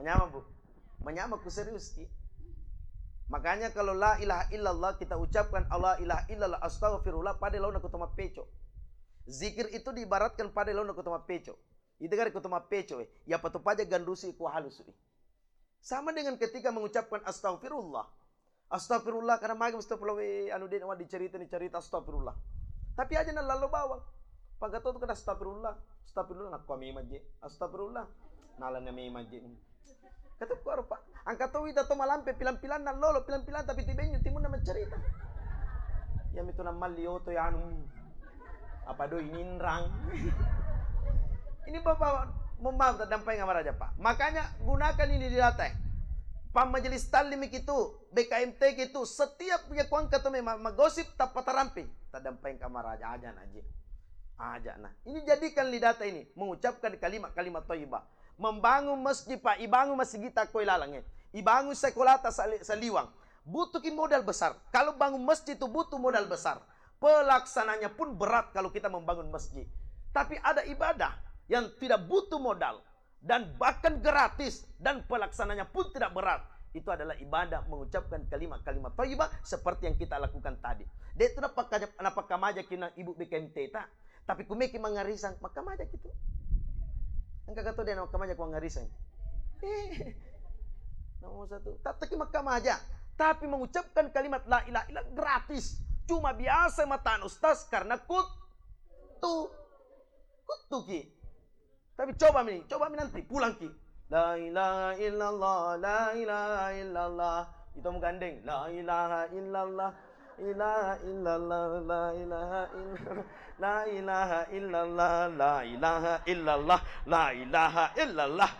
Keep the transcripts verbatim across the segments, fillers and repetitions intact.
Manyameng, Bu. Manyameng, ku serius ki. Makanya kalau la ilaha illallah kita ucapkan la ilaha illallah, astaghfirullah, pada laona ku to mappeco. Zikir itu diibaratkan pada laona ku to mappeco. Itu kan ku to mappeco, eh. Ya patu paja ganrusi ku halusu, eh. Sama dengan ketika mengucapkan astaghfirullah. Astaghfirullah, karena magi astaghfirullah, we, anu de' nawa dicerita ni cerita astaghfirullah. Tapi aja na lalo bawang. Pagato tu kada astaghfirullah, astaghfirullah, nakko memang je. Astaghfirullah, nalana memang je. Kata ku arupa. Angka to wita to malampe pilang-pilang na lolo pilang-pilang tapi tibenyu timunna mencerita. Ya mitu na malli oto ya anu. Apa doi ninrang. Ini Bapak, mohon maaf, taddampeng amaraja, Pak. Makanya gunakan ini di data, eh. Pak Majelis Taklim itu, B K M T itu, setiap punya kuangka tu memang magosip tappa tarampi. Taddampeng amaraja aja naji. Aja nah. Ini jadikan li data ini, mengucapkan kalimat-kalimat thayyibah. Membangun masjid, Pak, ibangun masjid ta koi lalang, eh. Ibangun sekolah ta sali-, saliwang. Butuh ki modal besar. Kalau bangun masjid itu butuh modal besar. Pelaksananya pun berat kalau kita membangun masjid. Tapi ada ibadah yang tidak butuh modal dan bahkan gratis dan pelaksananya pun tidak berat. Itu adalah ibadah mengucapkan kalimat-kalimat thayyibah seperti yang kita lakukan tadi. De' tu napakka-, napakkamaja ki na ibu B K M T ta. Tapi kumeki mangarisang, makkamaja ki tu. Engka kato de' na makkamaja ku mangarisang. Eh, nomor satu. Tattaki makkamaja. Tapi mengucapkan kalimat la ilaha illa gratis. Cuma biasa matana ustaz karena kut-, tu. Kuttuki. Tapi coba mi, coba mi nanti pulang ki. La ilaha illallah, la ilaha illallah. Itu mau gandeng. La ilaha illallah, ilaha illallah, la ilaha illallah, la ilaha illallah, la ilaha illallah, la ilaha illallah.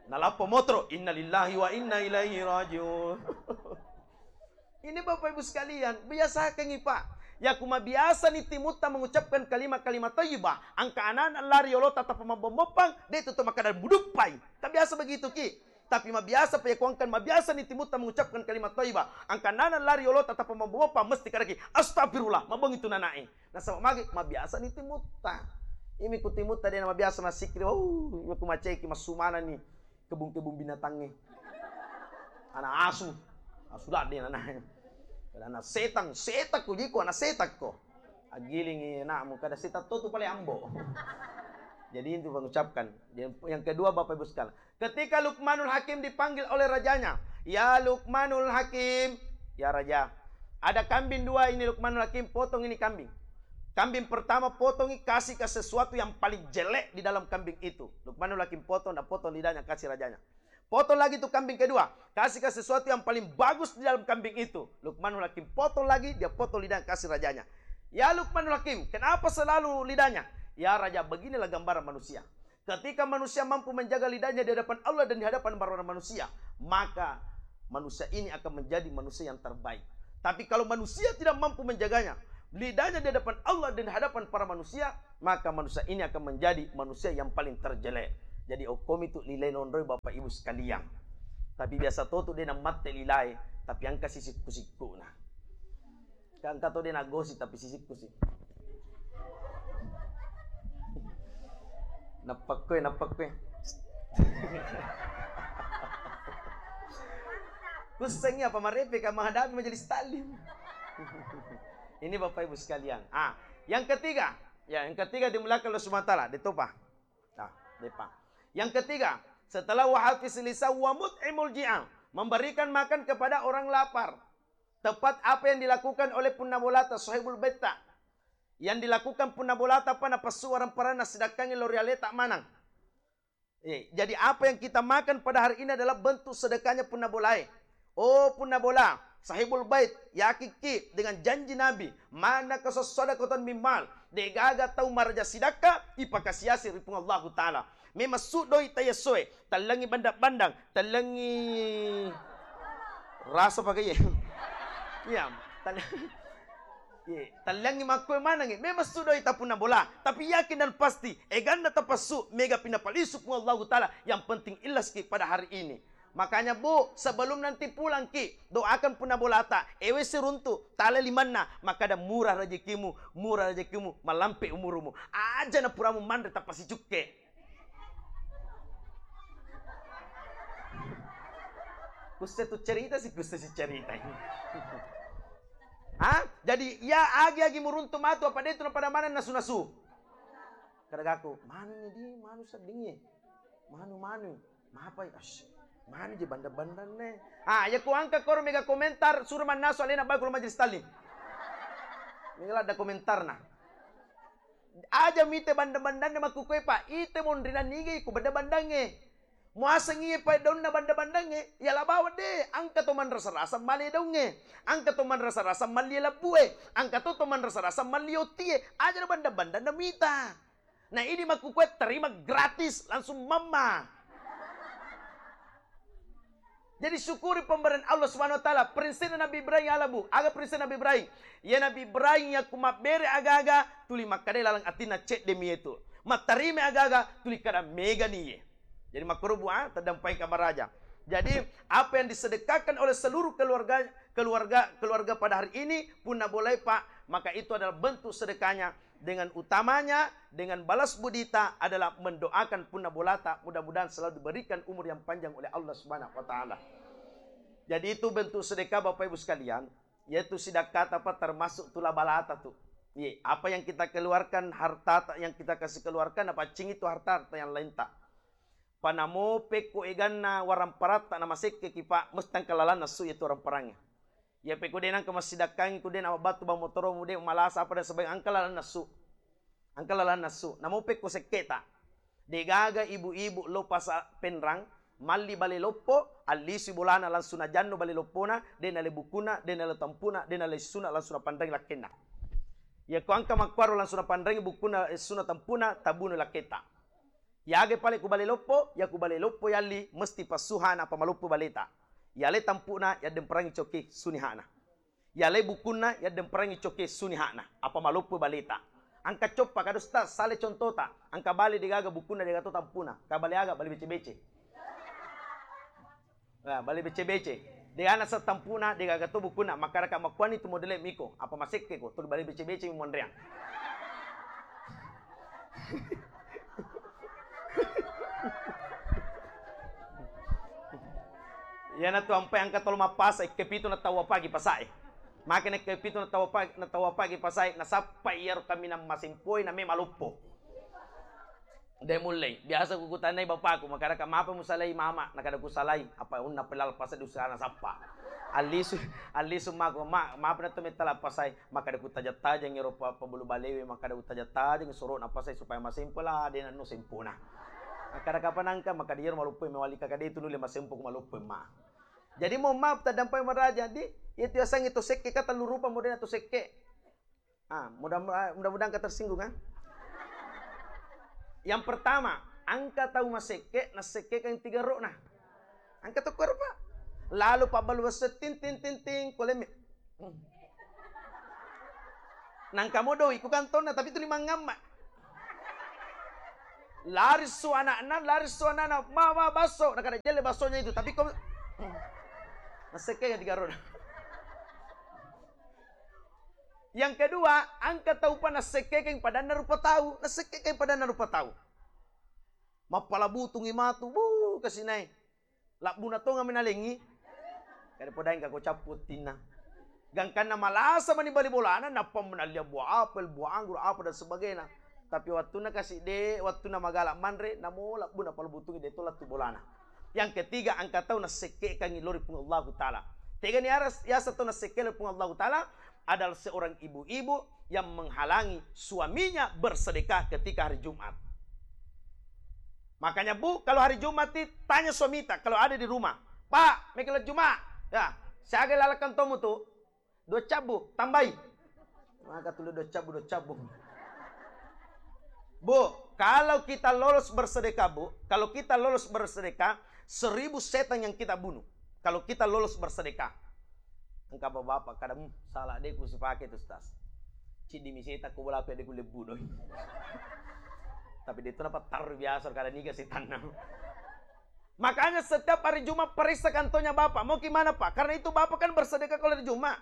Nalappo motoro, innalillahi wa inna ilaihi rajiun. Ini Bapak Ibu sekalian, biasakan, Pak. Ya, ku mabiasa ni timutta mengucapkan kalimat-kalimat thayyibah, angka anak-anak lari olota tappa mabomboppang, de' tu to makkada muduppai. Kan biasa begitu ki. Tapi mabiasa pa yakuangkan mabiasa ni timutta mengucapkan kalimat thayyibah, angka anak-anak lari olota tappa mabomboppang, mesti kadaki, "Astagfirullah," mabongi tu nanae. Nasaba magi mabiasa ni timutta. Imi ku timutta de' na mabiasa masikri, oh, ku maceki masumana ni. Kebun-kebun binatangnge. Anak asu. Asu ladde anak. Kada anak setang, setang ko jiko, anak setang ko. Agilingi anakmu, kada setang to tu paling ambo. Jadi itu mengucapkan. Yang, yang kedua Bapak Ibu sekalian, ketika Luqmanul Hakim dipanggil oleh rajanya, "Ya Luqmanul Hakim, ya raja, ada kambing dua ini Luqmanul Hakim, potong ini kambing." Kambing pertama potongi, kasih ke sesuatu yang paling jelek di dalam kambing itu. Luqmanul Hakim potong dan potong lidahnya, kasih rajanya. Potong lagi itu kambing kedua, kasih ke sesuatu yang paling bagus di dalam kambing itu. Luqmanul Hakim potong lagi, dia potong lidahnya, kasih rajanya. "Ya Luqmanul Hakim, kenapa selalu lidahnya?" "Ya Raja, beginilah gambaran manusia. Ketika manusia mampu menjaga lidahnya di hadapan Allah dan di hadapan para manusia, maka manusia ini akan menjadi manusia yang terbaik. Tapi kalau manusia tidak mampu menjaganya, lidahnya di hadapan Allah dan di hadapan para manusia, maka manusia ini akan menjadi manusia yang paling terjelek." Jadi, okkomi tu lilai nonroi Bapak Ibu sekalian. Tapi biasa to tu de' nammatte lilai, tapi angka sisikku-sikku na. Kan engka to de' nagosip tapi sisikku si. Nappakkoe, nappakkoe. Kussengi apa marepe ka menghadapi majelis taklim. Ini Bapak Ibu sekalian. Ah, yang ketiga, ya, yang ketiga dimuliakan Allah Subhanahu wa taala, detopa. Nah, depa. Yang ketiga, setelah wa hafiz lisan wa mut'imul ji'an, memberikan makan kepada orang lapar. Tepat apa yang dilakukan oleh punna bolata, sahibul baitta. Yang dilakukan punna bolata apa napassu warang paranna, sidakkangi lao ri aleta manang. Eh, jadi apa yang kita makan pada hari ini adalah bentuk sedekahnya punna bolae. Oh, punna bola, sahibul bait, yakikki dengan janji Nabi, "Manaka sadaqatan min mal." Degaga tau maraja sidakka ipakasiasi ri Puang Allahu Ta'ala. Memang sudoi tayasoe, tallengi bandang-bandang, tallengi rasa pakai ye. Iya, tal-, ye, tallengi makkue manengi. Memang sudoi tapunna bola, tapi yakin dan pasti eganna tapassu mega pinapalisu Puang Allahu Ta'ala. Yang penting ikhlas ki pada hari ini. Makanya, Bu, sebelum nanti pulang ki, doakan punna bolata, ewe siruntu, tale limanna, makkada murah rezekimu, murah rezekimu, malampe umurumu. Aja na puramu manre tapasicukke. Kusse tu cerita si, kusse si cerita. Ha? Jadi, ya agi-agi muruntu matu, apa de tu na pada maneng nasu-nasu. Kadagaku, manu ni di, manu sedding ye. Manu, manu. Mapai, ash. Manu je bandang-bandang ne. Ah, ya ku angka koro mega komentar, suruh mannasu alena bae ku majelis taklim. Mega ladda komentarna. Aja mite bandang-bandanna makkukue, Pak. Ite monrina nige ku bandang-bandangnge. Muaseng iye pae daunna bandang-bandangnge, ya la bawang de, angka to manrasa-rasa male daungnge, angka to manrasa-rasa mallie labbue, angka to to manrasa-rasa mallie ottie, aja na bandang-bandanna mita. Na idi makkukue terima gratis, langsung mamma. Jadi syukuri pemberian Allah Subhanahu wa Ta'ala. Prinsipna Nabi Ibrahim ala, Bu. Aga prinsip Nabi Ibrahim? Ya Nabi Ibrahim yakku mabbere aga-aga, tuli makkadai laleng atinna cedde mi yetu. Mattarime aga-aga, tuli kada mega ni ye. Jadi makkoro, Bu, ah, taddampengka maraja. Jadi apa yang disedekahkan oleh seluruh keluarga, keluarga, keluarga pada hari ini, punna bolai, Pak, maka itu adalah bentuk sedekahnya. Dengan utamanya, dengan balas budita adalah mendoakan punna bolata, mudah-mudahan selalu diberikan umur yang panjang oleh Allah Subhanahu wa Ta'ala. Jadi itu bentuk sedekah, Bapak Ibu sekalian, yaitu sidakkata apa termasuk tula balata tu. Iya, apa yang kita keluarkan, harta yang kita kasih keluarkan, apa cing itu harta-harta yang lain tak. Panamo pekko eganna waramparatta namasekkeki, Pak, mesti engka lalanna su yatu waramparangnge. Ya pekko de nangka massidakkangi ku de na battu bang motoromu de malasa apa dan sebagainya, engka lalanna su. Engka lalanna su. Namo pekko sekketa. Degaga ibu-ibu lo pasa penrang, malli bale loppo, allisui bolana langsung najanno bale loppona, de nale bukuna, de nale tampuna, de nale suna langsung napanreng lakkenna. Yako engka makkuaro langsung napanreng bukuna, eh, suna tampuna, tabunu lakketa. Yaga pale ku bale loppo, ya ku bale loppo yalli mesti passuhana apa maloppo baleta. Yale tampuna yaddemperangi coki sunihana. Yale bukunna yaddemperangi coki sunihana apa maloppo baleta. Angka coppa kadosta sale contota, angka bale degaga bukunna degato tampuna, ka bale aga bale bece-bece. Nah, bale bece-bece. De ana setampuna, de gaga to bukunna, makkaraka makkuani tu modele miko, apa masekke ko, tuli bale bece-bece mi monreang. Iyana tu ampai angka tolo mappasa, ikkepitu na tau apagi pasae. Maka na ikkepitu na tau apagi, na tau apagi pasae, nasappa iyaro kaminang masempoi, na me maloppo. De mullei. Biasa ku kutannai bapakku, makkadaka, "Mapa musalai mama?" Nakkada, "Kusalai." Apa unna pelal pasai dusana sappa. Allisu, allisu mako, "Ma, mapa na to metta lappasai?" Makkada, "Kutajang-tajang ero pa, pabulu balewe," makkada, "Kutajang-tajang soro na pasai supaya masempo lah, de nanno sempona." Makkada, "Kapa nangka?" Makkada, "Iyaro maloppo mewali kaka de tu nulle masempo ku maloppo ma." Jadi mohon maaf tadampai maraja di, itu yasengnge to sekke ka tellu rupa modena to sekke. Ah, mudah, mudah-mudahan engka tersinggung, ah. Yang pertama, engka tau masekke, nasekkekan tiga ro'na. Engka tokko ero, Pak. Lalu pabbalu basso, ting, ting, ting, ting, kolemme. Hmm. Nangka mo doi ku kantonna, tapi tuli mangamma. Lari su anakna, lari su anakna, "Ma, ma, basso." Nakada jelle bassonya itu, tapi kau, hmm. Nasekkekan tiga ro'na. Yang kedua, engka taupa nassekkekeng padanna rupa tau, nassekkekeng padanna rupa tau. Mappala butungi matu, bu, kasinai. Labbuna tonga menalengi. Kada podaeng kako cappu tinna. Gangkanna malasa mani bali bolana, nappa menallia buah apel, buah anggur, apa dan sebagainya. Tapi wattunna kasi de, wattunna magala manre, namo labbuna pala butungi de to lattu bolana. Yang ketiga, engka tau nassekkekangi lori Puang Allahu Ta'ala. Tegani aras, yasa tau nassekke lori Puang Allahu Ta'ala adalah seorang ibu-ibu yang menghalangi suaminya bersedekah ketika hari Jumat. Makanya, Bu, kalau hari Jumat, ti, tanya suamita kalau ada di rumah. "Pak, mekelo Jumat." "Ya, siaga lalakkan tomu tu?" "Dua cabbu, tambai." Maka tuli dua cabbu, dua cabbu. Bu, kalau kita lolos bersedekah, Bu, kalau kita lolos bersedekah, seribu setan yang kita bunuh. Kalau kita lolos bersedekah. Engka bapak-bapak kada, "Hmm, salah de ku sipake tu, Ustaz. Ciddi mi setan ko bola aku de ku lebbu doi." Tapi de tu napattarru biasa kada niga setanna. Makanya setiap hari Jumat periksa kantonya bapak. Mau gimana, Pak? Karena itu bapak kan bersedekah kalau hari Jumat.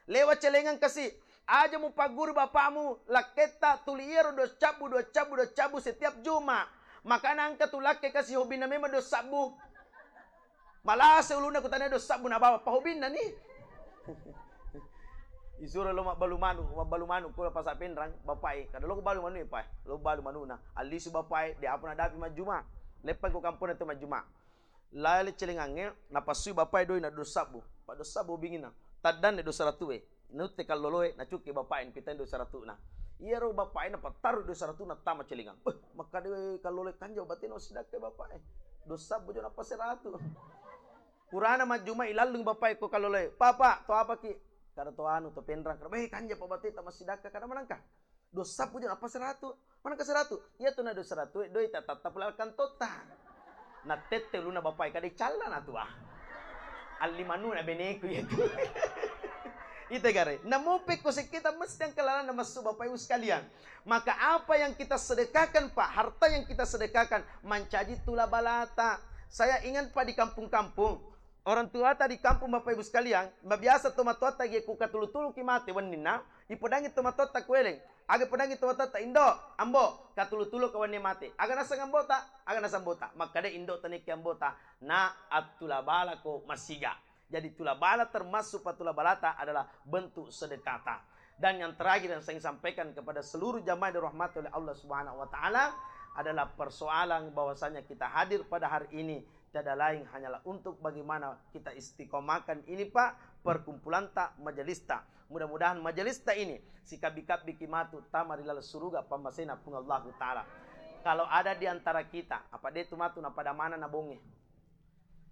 Lewat celengan kasi, aja mupagguru bapakmu, lakketta tuli iyaro dua cabbu, dua cabbu, dua cabbu setiap Juma. Makana engka tu lakke kasi hobina memang dua sabbu. Malase ulunna kutana do sabbu na bawa pahobinna ni. Isuro lo mabbalu manu, mabbalu manu ko Pasar Pinrang, bapae. Kada lo balu manu pa, lo balu manuna. Allisu bapae, de apa nadapi majjuma. Leppai ko kampona tu majjuma. Lale celengangnge, napassui bapae doi na do sabbu. Pa do sabbu bingina. Taddanne do saratue. Nutte kalloloe, nacukke bapae, napitai do saratuna. Iyaro bapae napattaru do saratuna tama celengang. Eh, makkada kalloloe kanja batena sidakka bapae. Do sabbu jo nappa seratu. Purana majjuma ilallung bapae ko kalloloe. Papa, to apaki? Kada to anu, to Pinrang. Kada, eh, kanja pa bateta massidakka kada manangka. Do sabbu jo nappa seratu. Manengka seratu? Iya tu na do seratu, doi ta tatta pula kantotta. Na tette uluna bapae kada calla na tua. Alli manuna beneku iya tu. Ite gare, namupe ko sekkita mesti angka lalanna massu Bapak Ibu sekalian. Maka apa yang kita sedekahkan, Pak, harta yang kita sedekahkan mancaji tula balata. Saya ingat, Pak, di kampung-kampung, orang tuata di kampung, Bapak Ibu sekalian, mabiasa tomatoatta ge ku katulu-tulu ki mate wenninna, ipodangi tomatoatta kueleng. Aga podangi tomatoatta, "Indo, Ambo, katulu-tulu ka wenni mate." Aga naseng ambota? Aga naseng ambota? Makkada indo taniki ambota, na attula balako masiga. Jadi tula bala termasuk patula balata adalah bentuk sedekata. Dan yang terakhir yang saya ingin sampaikan kepada seluruh jamaah yang dirahmati oleh Allah Subhanahu wa Ta'ala adalah persoalan bahwasanya kita hadir pada hari ini tiada lain hanyalah untuk bagaimana kita istiqomahkan ini, Pak, perkumpulan ta, majelis ta. Mudah-mudahan majelis ta ini sikabbi-kabbi ki matu tama ri laleng suruga pammasena Puang Allahu Ta'ala. Kalau ada di antara kita, apa de tu matu na pada mana na bonge?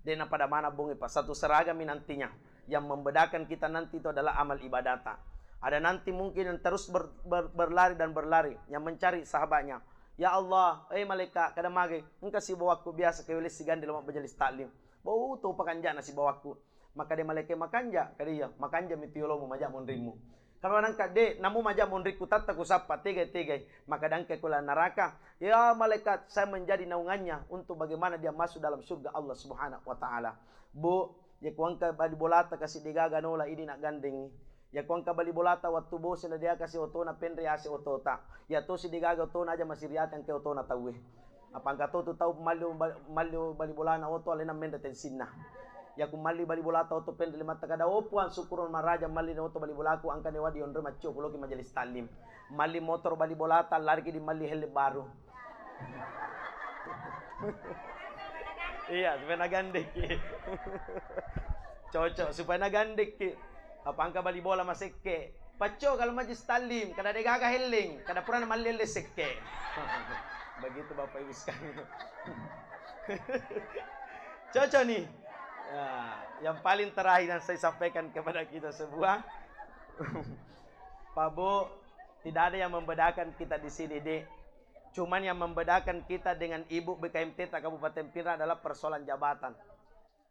De na pada mana bonge, Pak. Satu seragam mi nantinya. Yang membedakan kita nanti itu adalah amal ibadata. Ada nanti mungkin yang terus ber-, ber-, berlari dan berlari, yang mencari sahabatnya. Ya Allah, eh malaikat, kada mage, engka sibawakku biasa kewele sigande lo majelis taklim. Bau to pakanjana sibawakku. Maka de malaikat, makanja, kada iya, makanja mi tu yolomu maja monrimmu. Kama nangka de, namu maja monrikku tatta kusappa, tegai-tegai. Maka dangke kula neraka. Ya malaikat, saya menjadi naungannya untuk bagaimana dia masuk dalam surga Allah Subhanahu wa Ta'ala. Bu, ya kuangka bali bolata kasi degaga nola ini nak gandengi. Ya kuangka bali bolata wattu bosi na dia kasi otona penre ase otota. Ya tosi degaga otona aja masiriate angke otona tauwe. Apa engka to tu tau malli, malli bali bolana oto alena menre tensinna. Yaku malli bali bolata oto penre limatta kada, "Oh Puang, syukur maraja malli oto bali bolaku, angka newa dionroi maccio kuloki majelis taklim." Malli motor bali bolata, lariki di malli helle baru. Iya, supaya nagandekki. Cocok, supaya nagandekki. Apa engka bali bola masekke. Pacco kalau majlis taklim, kada degaga helleng, kada purana malli helleng sekke. Begitu Bapak Ibu sekalian. Cocok nih. Ya, yang paling terakhir yang saya sampaikan kepada kita semua, Pak Bu, tidak ada yang membedakan kita di sini, Dek. Cuman yang membedakan kita dengan Ibu B K M T ta Kabupaten Pinrang adalah persoalan jabatan.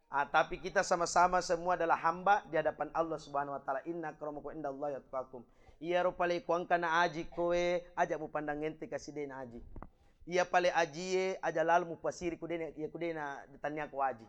Ah, tapi kita sama-sama semua adalah hamba di hadapan Allah Subhanahu wa Ta'ala. Inna akramakum indallahi atqakum. Iyaro pale kuangka na aji koe, aja mupandang ente kasi de na aji. Iya pale ajie, aja lalo mupasiri ku de na, iya ku de na tannia ko aji.